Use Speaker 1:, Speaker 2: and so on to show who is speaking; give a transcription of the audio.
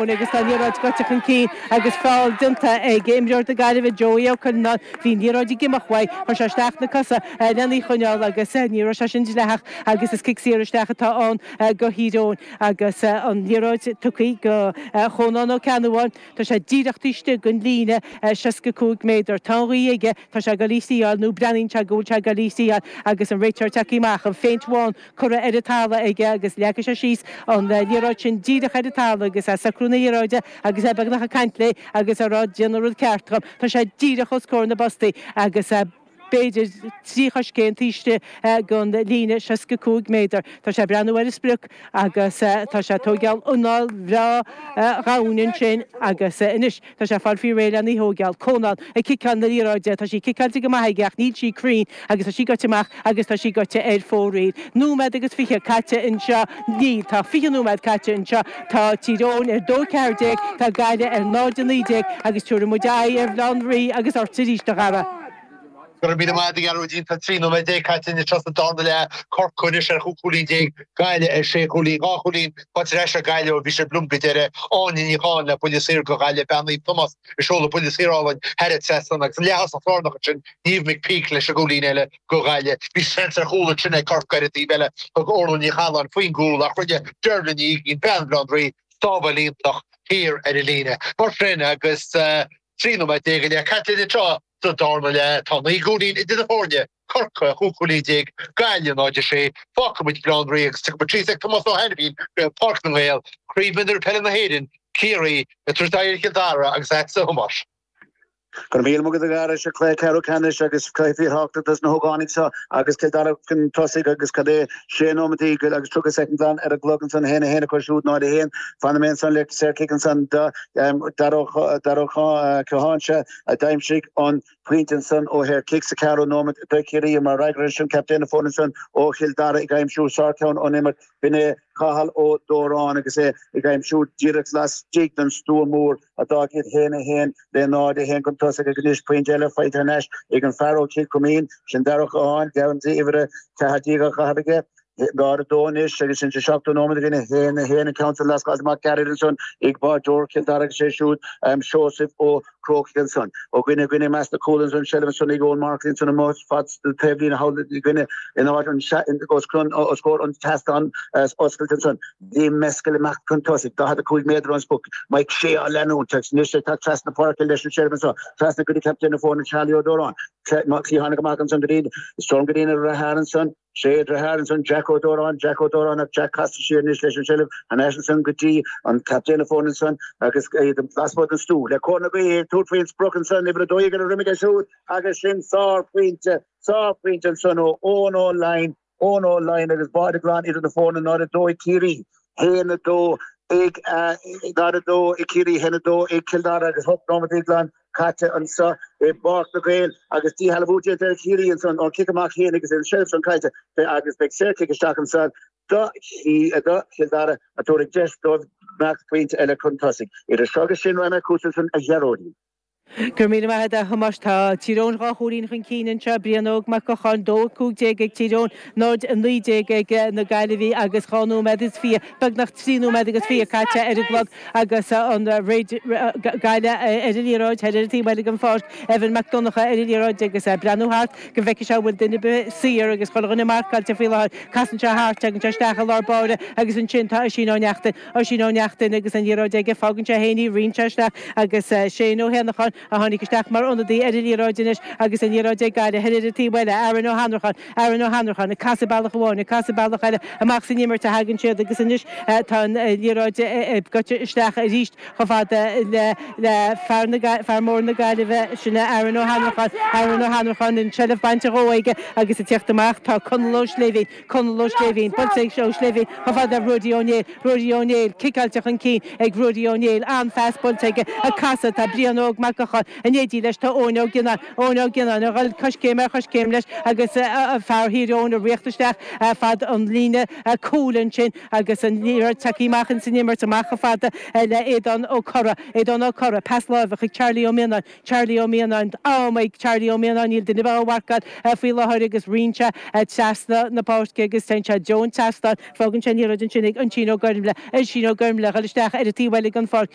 Speaker 1: Agus tá an liathróid gaibhte chun cinn agus feall déanta ag imreoir na Gaillimhe, Joey Ó Cuilleanáin. Bhí an liathróid ag imeacht uaidh, chuir sé isteach na cosa lena í choinneáil agus ní raibh sé sin dleathach agus is cic saor isteach atá ann do Thír Eoghain agus an liathróid tugtha go Chónán Ó Ceannabháin. Tá sé díreach taobh istigh den líne 65 méadar. Tá an ghaoth aige, tá sé ag dul í thriáil nó breathnaíonn sé go bhfuil sé ag dul í thriáil agus an réiteoir tagtha amach, an phéint bhán curtha ar an talamh aige agus leagfaidh sé síos an liathróid sin díreach ar an talamh agus é ag socrú na liathróide agus é beagnach ag caint léi agus ag rá déan an rud ceart dhom. Tá sé díreach os comhair na bpostaí agus b'fhéidir 3 choiscéim taobh istigh den líne 65 méadar. Tá sé ag breathnú ar an sprioc agus tá sé ag tóigeáil anáil bhreá dhomhain ansin agus anois Tá sé ag fáil faoi réir lena í thóigeáil. Cónán ag ciceáil na liathróide. Tá sí ciceáilte go maith aige ach níl sí cruinn agus tá sí gaibhte amach agus tá sí gaibhte ar fóraoil. Nóiméad agus 20 caite anseo. Níl. Tá 20 nóiméad caite anseo. Tá Tír Eoghain ar 2-14, tá Gaillimh ar 0-19 agus tabharfaidh muid aghaidh ar Bhaile Átha an Rí agus ort arís, a Dhara.
Speaker 2: Go raibh míle maith agat, a Ghearóidín. Tá 13 nóiméad caite anois sa darna leath. Corcaigh anois ar chúig chúilín déag, Gaillimh ar sé chúilín. Dhá chúilín faighte ar ais ag Gaillimh ó bhí siad blum go deireadh. Áine Ní Chatháin le buille saor do Ghaillimh, bean Naomh Tomás ag seoladh buille saor álainn thar an trasnán agus an leath-thosach lárnach ansin, Niamh McPeake leis an gcúilín eile do Ghaillimh. Bhí seans ar chúl ansin ag Corcaigh ar an taobh eile. Thug Orla Ní Chathalláin faoin gcúl ach rinne Dervla Ní Uigín, bean Bhaile Átha an Rí, sábháil iontach thiar ar an líne. Mar sin agus 13 nóiméad go leith caite anseo, Sa darna leath, tá 9 gcúilín idir na foirne, Corcaigh, 15 cúilín, Gaillimh 0-6. Fágfaidh muid Baile Átha an Rí agus tiocfaidh muid síos ag Tomás Ó hAiniféin go Páirc na nGael, Craobh Mhionúir Peile na hÉireann, Ciarraí ag tabhairt aghaidh ar Chill Dara agus agatsa a Thomáis.
Speaker 3: Go raibh míle maith agat a Dhara, seo cluiche ceathrú ceannais agus cluiche fíorthábhachtach dos na hógánaigh seo agus Cill Dara chun tosaigh agus cad é sé nóimeataí agus 30 soicind glan ar an gclog ansan 1 1 acu siúd 0 1. Fanfaidh mé ansan le saorchic ansan do Dara Ó Catháin seo. a d'aimsigh an pointe ansan ó shaorchic sa cheathrú nóiméad do Chiarraí. Mar fhreagra air sin, captaen na foirne ansan ó Chill Dara ag aimsiú sárcheann ón imirt, b'in é Cathal Ó Dóráin agus é ag aimsiú díreach laistigh den stua mór a d'fhág iad 1, 1 le 0, 1 chun tosaigh ach anois pointe eile faighte thar n-ais ag an fear ó Chill Chuimín, sin Dara Ó Catháin, geansaí uimhir 14 á chaitheamh aige. 0, 2 anois agus sin sa seachtú nóiméad againn, 1, 1 an ceann san lascáilte amach gairid ansan ag báideoir Chill Dara agus é siúd Seosamh Ó Crócaigh ansan. Ó dhuine go dhuine i measc na cúl ansan, seilbh ansan ag Eoin Markley ansan amuigh fad taobhlíne thall i gcoinne in áit an os os comhair an tseastáin oscailte ansan. Liam Mescal amach chun tosaigh, 45 méadar ón sprioc, Mike Shea á leanúint agus anois ag teacht trasna páirce leis an seilbh anso, trasna go dtí captaen na foirne Charlie Ó Dóráin. Cliathánaigh amach ansan go dtí Storm go dtí na deartháir ansan. Sé a dheartháir ansan Jack Ó Dóráin, Jack Ó Dóráin ach Jack casta siar anois leis an seilbh thar n-ais ansan go dtí an captaen na foirne ansan agus iad lasmuigh den stua le cóir na gaoithe ag tabhairt faoin sprioc ansan uimhir 12 ar a dhroim aige siúd agus sin sárphointe, sárphointe ansan ó Eoin Ó Laighin, Eoin Ó Laighin agus báide glan idir na foirne 0-2 ag Ciarraí, 1-2 ag 0-2 ag Ciarraí, 1-2 ag Cill Dara agus 8 nóimeataí glan caite anseo i bPáirc na nGael agus díshealbhú déanta ar Chiarraí ansan ón cic amach féin agus an seilbh san caillte agus beidh saorchic isteach ansan do Chill Dara a tabharfaidh deis dóibh imeacht pointe eile chun tosaigh. Idir seo agus sin raghaidh mé chugatsa ansan a Ghearóidín.
Speaker 1: Go raibh míle maith agat a Thomáis. Tá Tír Eoghain dhá chúilín chun cinn anseo, Brian Óg Mac Gocháin, 2-15 ag Tír Eoghain, 0-19 ag na Gaillimhigh agus dhá nóiméad is fiche, beagnach trí nóiméad agus fiche caite ar an gclog agus an Gaillimh ar an liathróid thoir ar an taobh eile den pháirc, Evan Mac Donncha ar an liathróid agus é ag breathnú thart go bhfeicfidh sé an bhfuil duine ar bith saor agus chuile dhuine marcáilte faoi láthair. Casann sé thart, tagann sé isteach i lár báire agus ansin tá Oisín Ó Neachtain, Oisín Ó Neachtain agus an liathróid aige, fágann sé féin í, ritheann sé isteach agus Shane Ó hÉanacháin a tháinig isteach mar ionadaí ar an liathróid anois agus an liathróid ag Gaillimh thoir ar an taobh eile, Aaron Ó hAnnracháin, Aaron Ó hAnnracháin ag casadh bealach amháin, ag casadh bealach eile, amach san imirt a thagann siad agus anois tá an liathróid gaibhte isteach arís chomh fada le le fear na fear mór na Gaillimhe, sin é Aaron Ó hAnnracháin, Aaron Ó Hannracháin, an tseilbh bainte dhó aige agus ag tíocht amach tá Conall Ó Sléibhín, Conall Ó Sléibhín, buailte ag Ó Sléibhín chomh fada le Ruairí Ó Néill, Ruairí Ó Néill, ciceáilte chun cinn ag Ruairí Ó Néill, an-phas buailte aige, ag casadh tá Brian Óg Mac. Mhuineacháin. In éindí leis tá Eoin Ó Gionnáin, Eoin Ó Gionnáin a dhul coiscéim ar choiscéim leis agus fear Thír Eoghain ag ritheacht isteach fad an líne cúil ansin agus an liathróid tagtha amach ins an imirt, amach chomh fada le Aodán Ó Corra, Aodán Ó Corra, pas láimhe chuig Charlie Ó Mianáin, Charlie Ó Mianáin, am ag Charlie Ó Mianáin, níl duine ar bith á mharcáil faoi láthair agus ritheann sé trasna na páirce agus téann sé i dtreo an tseastáin, fágann sé an liathróid ansin ag Oisín Ó Gormlaith, Oisín Ó Gormlaith, a dhul isteach ar an taobh eile den pháirc.